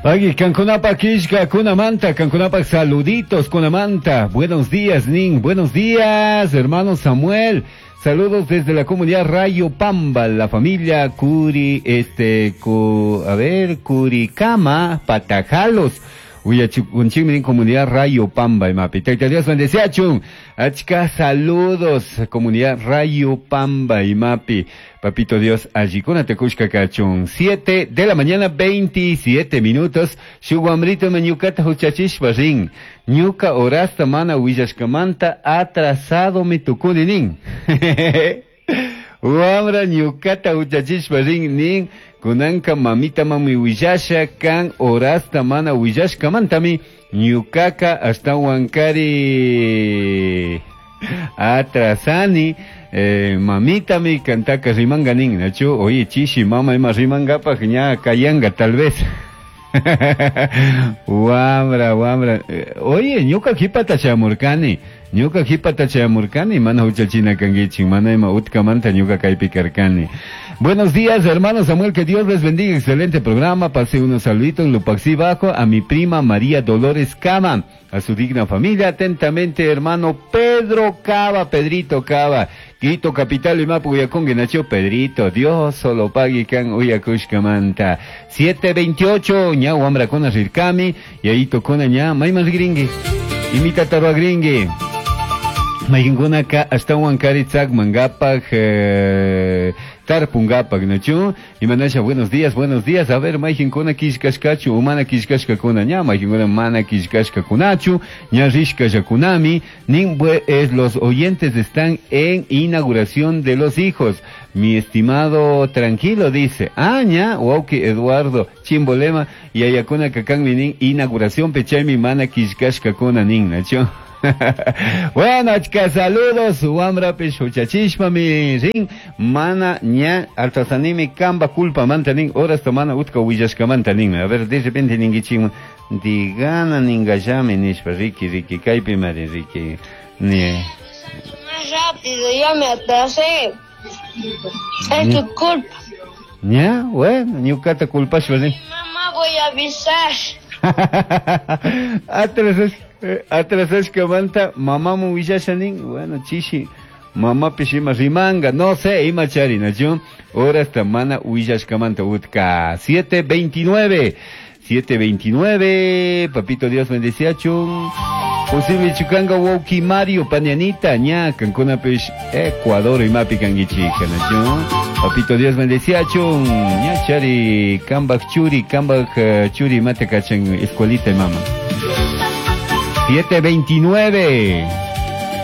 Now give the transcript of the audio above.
Pagui, kankunapaj killkakunamanta, kankunapaj saluditos kunamanta. Buenos días, Nin. Buenos días, hermano Samuel. Saludos desde la comunidad Rayo Pamba, la familia Curi, este, cu, a ver, Curicama, Patajalos. Uyachikunchikmi comunidad Rayo Pamba, imapi. Tayta Dios bendeciachun. Achka saludos, comunidad Rayo Pamba, imapi. Papito Dios, allikuna tukushka kachun. 7 de la mañana, 27 minutos. Shuk wambrito me ñukata huchachishpa rin. Ñuka horasta mana willashkamanta atrasado mi tukuni nin. Wamra ñukata huchachishpa rin nin. Kunanka mamita mami willasha kan horasta mana willashkamantami ñukaka ashtawankari atrasani. Mamitami kantaka rimanga nin, nachu, oye chishi mama ima rimangapaj ña kayanga tal vez. Wamra, wamra. Oye, ñuka qhipata chayamurkani. Ñuka qhipata chayamurkani, mana huchachina kankichik, mana ima utkamanta ñuka kaypi karkani. Buenos días, hermano Samuel, que Dios les bendiga. Excelente programa. Pasé unos saluditos, Lupaxí Bajo, a mi prima María Dolores Cava, a su digna familia. Atentamente, hermano Pedro Cava, Pedrito Cava. Quito capital y mapu uyakungi nacho Pedrito, Dios solo pagui kan uyakushkamanta. 7:28, ña wamra kona rirkami, y ahí tocona ña mayman rigringui. Imita tarua gringui. Maykinkuna ka ashtawan kari tzakmangapaj, tarpungapaj, nachu. Imanasha, buenos días, buenos días. A ver, maykinkuna killkashkachu, o mana killkashkakuna ña, maykinkuna mana killkashkakunachu, ña rishkallakunami. Nin, es, los oyentes están en inauguración de los hijos. Mi estimado tranquilo dice, ah, ña, wauki Eduardo, chimbolema, y ayakuna kakan minin inauguración pechaymi mana killkashkakuna nin, nachu. Bueno, achka saludos, wamrapish huchachishpa mi rin, mana ña altasanimi kamba culpa manta nin, horas tomana utka willashkamanta nin. A ver, de repente ningichim, digana ningallami nishpa, riki, riki, kaypi mari, riki, ni. Más rápido, ya me atrasé. Es tu culpa. Ña, bueno, ñukata culpashpa nin. Mamá, voy a avisar. Atrasas, atrasashkamanta mamamu willasha nin, bueno, chishi, mamapish ima rimanga, no sé, ima chari, nachu, horasta mana willashkamanta utka. 7:29, 7:29, papito Dios bendeciachun. Posible chukanga wauki Mario panianita, ña, kankunapish Ecuador imapi kankichika, nachu. Papito Dios bendeciachun, ña chari, kambaj churi, kambaj, churi mate kachan escuelita mama. 7:29.